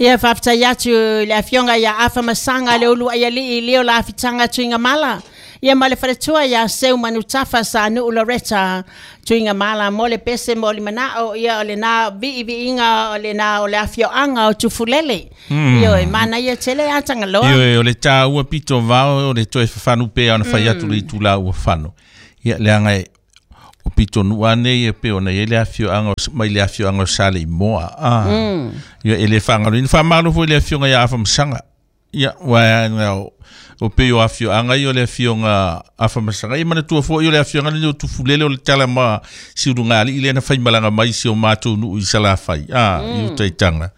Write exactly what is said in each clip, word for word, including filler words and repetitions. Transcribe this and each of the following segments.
Ia faafetai atu i le afioga ia Afamasaga le ulu ai alii leo la fitanga Tuigamala. Ia ma le faletua ia Seu Manutafa sa nuu Loretta Tuigamala mo le pese mo le manao ia o lena viiviiga o lena o le afioaga o Tufulele. Mm. Ioe, manaia tele a Tagaloa. Ioe, o le taua pito vao o le toe fafanu pea ona fai atu le itula ua fano. Ia leaga e o pito nuu nei e pei ona i ai le afioaga o mai le afioaga o Saleimoa. Ah. Mm. Ia e le faagaloina faamalo foi le afioga ia Afamasaga. Ia ua na o o pei o afioaga ia o le afioga Afamasaga. Ia manatua foi o le afioaga lenei o Tufulele o le tala ma siulugalii lea na faimalaga mai si o matou nuu i Salafai. Ah, i utaitaga.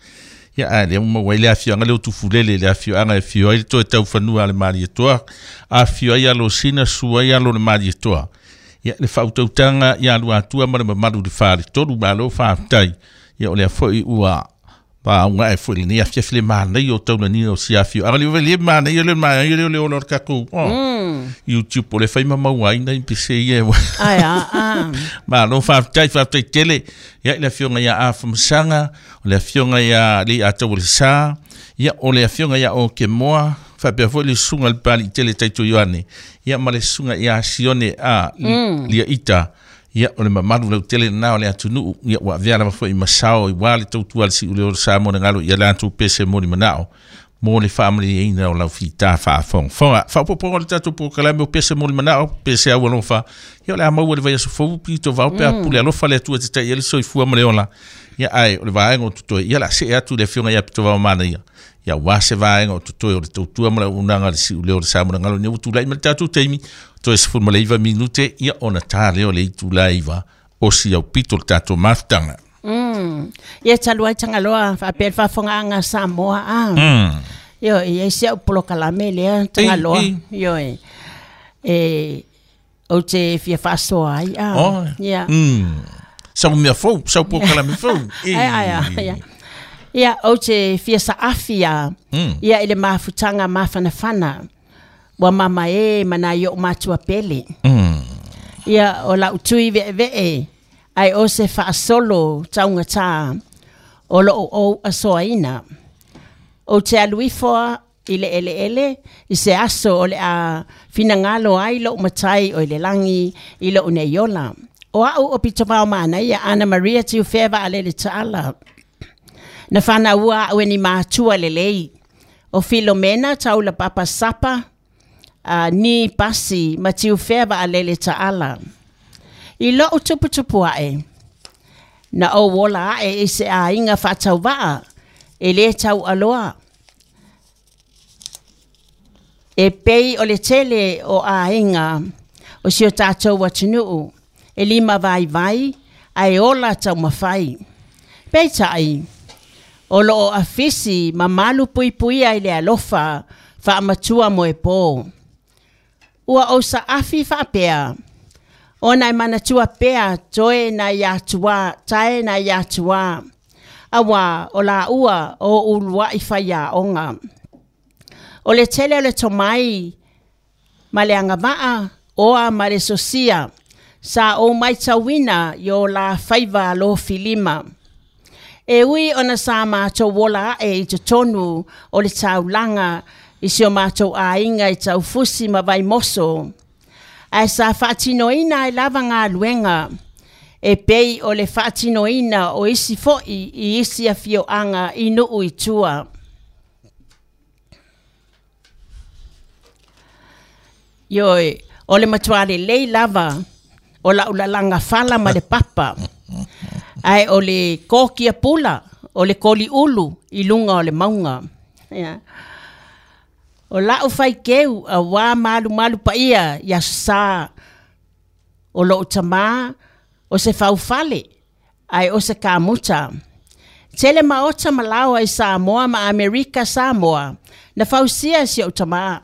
Ia a lea ua maua ai le afioaga lea o Tufulele, le afioaga e afio ai le toe taufanua a le Malietoa, afio ai Alosina, sua ai alo o le Malietoa. Ia le faautautaga ia Luatua ma le mamalu i le faletolu, malo faafetai. Ia o lea foi ua paauga e foi lenei afiafi le manaia o taulania o si afioaga. Le le manaia le manaia le ola o le tatou oh, Mm. YouTube o le fai ma maua ai nai pese ia e Ai a a. Malo faafetai, faafetai tele. Ia i le afioga ia Afamasaga, o le afioga ia Leiataualesa, ia o le afioga ia Okemoa, faapea foi le susuga i le Papalii tele Taito Ioane, ia ma le susuga ia Sione a Mm. Lia Ita. Ia o le mamalu lautele lena o le atunuu, ia ua avea lava foi ma sao i wā le tautua a le siuleo o le Samoa na galo ia latou pese mo le manao mo le faamalieina o lau fita faafogafoga. Faaopoopoga o le tatou polokalame o pese mo le manao, pese au alofa. Ia o le a maua le vaiaso fou pito vao pe a pule alofa le Atua te tai ai le soifua ma le ola. Ia ae o le vaega o totoe, ia la see atu le afioga ia Pitovao Manaia. Ia ua se vaega o totoe o le tautua ma le auaunaga a le siuleo o le Samoa na galo ina ua tulai ma le tatou taimi, toe sefulu ma le iva minute, ia ona tā lea o le itula e iva o si au pito le tatou mafutaga. Mm. Ia talu ai Tagaloa faapea le faafofogaaga Samoa a. Mm. Ioe, e i ai si au polokalame lea Tagaloa. Ei, Ioe. E ou te fia faasoa ai a. Oh. Ia. Mm. Sau mea fou, sau polokalame fou. Ai ai ai. Ia. Ia ou te fia saafi a. Mm. Ia i le mafutaga mafanafana. Ua mama e mana i o matua pele. Mm. Ia o lau tui ve'eve'e ai o se faasolo taugata o loo ou asoaina. O te alu ifo i le eleele i se aso o le a finagalo ai lou matai o i le lagi i lou nei ola. O au o Pitovao Manaia Ana Maria Tiufea Vaalele Taala. Na whanaua au e ni mātua lelei. O Filomena Taula Papa Sapa, uh, ni pasi ma Tiufea Vaalele Taala. I lou tuputupu ae, na ou ola ae i se aiga faatauvaa, e lē taualoa. E pei o le tele o aiga o si o tatou atunuu, e lima vaivai, ae ola taumafai. Peitai, o loo afisi ma malu puipuia i le alofa faamatua moepō. Ua ou saafi faapea, ona e manatua pea toe na i atua, tae na i atua, auā o laua o uluai faiaoga. O le tele o le tomai ma le agavaa oa ma le sosia, sa ou maitauina i o la faiva alofilima. E ui ona sa matou ola ae i totonu o le taulaga i si o matou aiga i Taufusi ma Vaimoso. Ae sa faatinoina ai lava galuega, e pei o le faatinoina o isi foi i isi afioaga i nuu i tua. Ioe, o le matua lelei lava o lau lalaga fala ma le papa. Ae o le kokia pula, o le koliulu i luga o le mauga. Ia. O lau faikeu auā malumalu paia i aso sa o lou tamā o se faufale ae o se kamuta. Tele maota ma laoa i Samoa ma Amerika Samoa na fausia si ou tamā.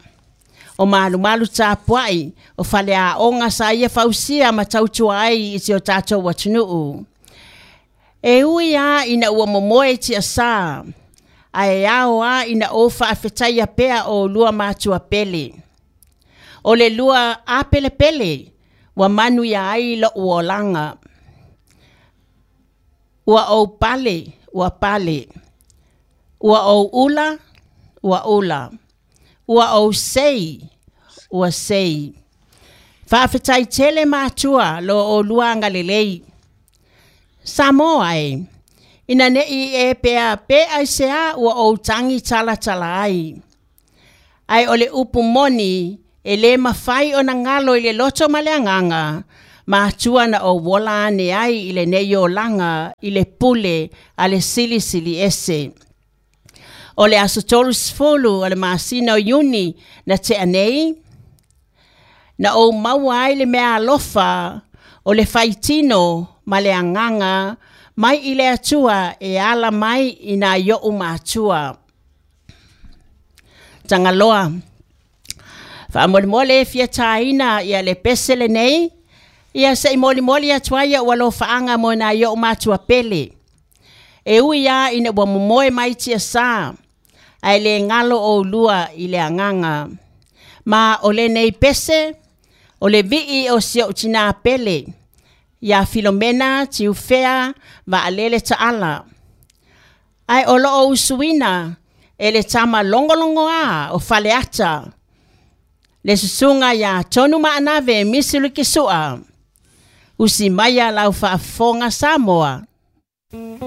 O malumalu tapuai o faleaoga sa ia fausia ma tautua ai i si o tatou atunuu. E ui a ina ua momoe tiasā, ae ao a ina ou faafetaia pea o lua matua pele. O le lua apelepele, ua manuia ai lou olaga. Ua ou pale, ua pale. Ua ou ula, ua ula. Ua ou sei, ua sei. Faafetai tele matua lo olua agalelei. Samoa e, ina nei e pea pe aisea ua ou tagi talatala ai. Ae o le upu moni e le mafai ona galo i le loto ma le agaga, matua na ou ola ane ai i lenei olaga i le pule a le Silisili Ese. O le aso tolusefulu o le masina o Iuni na tea nei, na ou maua ai le meaalofa o le faitino ma le agaga mai i le Atua e ala mai i nai o'u matua. Tagaloa, faamolemole e fia taina ia le pese lenei, ia se i molimoli atu ai ua alofaaga mo nai o'u matua pele. E ui lava ina ua momoe mai tiasā, ae le galo oulua i le agaga. Ma o lenei pese, o le vii o si ou tinā pele, ia Filomena Tiufea Vaalele Taala. Ae o loo usuina e le tama logologoā o Faleata, le susuga iā Tonu Maanave Misi Lusua. Usi maia lau faafofoga Samoa.